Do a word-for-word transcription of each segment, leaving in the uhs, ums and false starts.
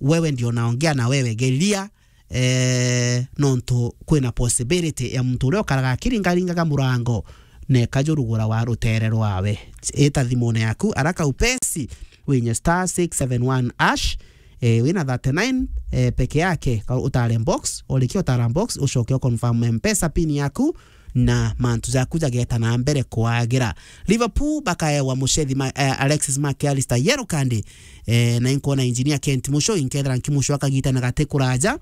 wewe ndio naongea na wewe, geria, eh, nontu kwina possibility ya muntu uria ukaraga akiringaringaga murango, neka jurugura wa rutere rwawe. Ita thimune yaku araka upesi, winye star six seven one hash, eh, wina thirty-nine, eh, peke yake, ka utare box, urikia utara box, ucoke u confirm M-Pesa pin yaku, na mantu jaku jageta na mbere kwagira. Liverpool bakaewa mucethi ma, eh, Alexis Mac Allister yellow card, eh, na inkuona engineer Kent Musho, inkethira nkimusho akagita na gati kuraja.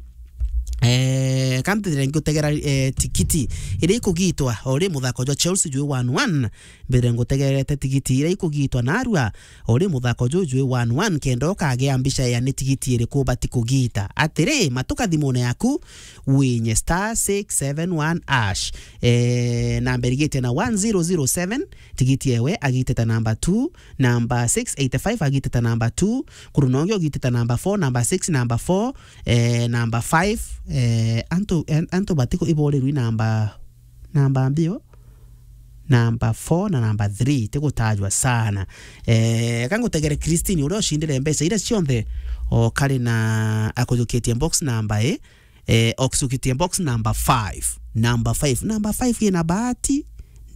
Eh, kantithire ngiutegera, eh, tikiti iria ikugitwa o ri muthako jwa Chelsea jwi one one, mbere ngutegerete tigiti iria ikugitwa narua o ri muthako juju jwi one one, kenda ukagea mbica ya ni tigiti iriku bati kugita. Atiri, matuka thimune yaku, winye star six seven one hash. Eh, namba irigite na one zero zero seven, tigiti ewe agitite namba two, namba six eighty-five agitite namba two, kurunongi ugitite namba four, namba six, namba four, eh, namba five, eh, antu, an-, antu batiku iborirwi namba, namba mbio, namba four na namba three, tigutajwa sana. Eh, kangutegere Christine, uria ucindire mbeca iria cionthe, o kari na akujukitie box namba i, eh, okujukitie box namba five. Namba five. Namba five ina bahati,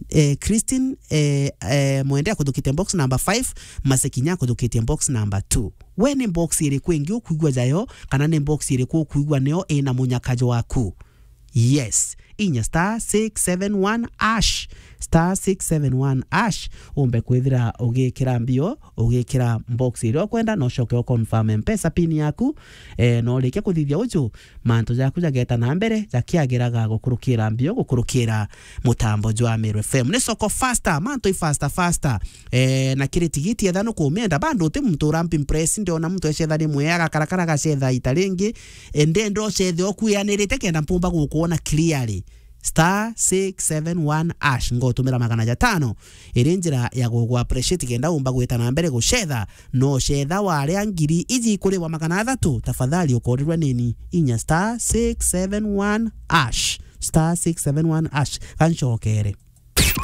eh, Christine, eh, eh, Mwende akujukitie box namba five, Masekinya akujukitie box namba two. We ni box iriku ingi ukuigua jayo, kana ni box iriku ukuigua nio ina munyakajo waku? Yes. Inya star six seven one hash. Star six seven one hash. Umbe kwithira ugikira mbio, ugikira box iria ukwenda, na ucoke u confirm M-Pesa pin yaku. Eh, na urikia kuthithia uju, mantu jaku jageta na mbere, jakiagiraga gukurukira mbio, gukurukira mutambo jwa Meru F M. Ni soko faster, mantu i faster, faster. Eh, na kiri tigiti etha nukumienda, bado uti muntu urampi impress, ndiona muntu ecetha rimwe, agakarakara agacetha ita ringi, eh, ndenda ucethe ukwianirite kenda mpumba gukuona clearly. Star six seven one hash, ngotumira magana jatano, iri njira ya gugu appreciate kenda umba gwita na mbere gucetha, no cetha waria ngiri iji ikuribwa magana athatu, tafadhali ukorirwa nini, inya star six seven one hash, star six seven one hash, gancokere.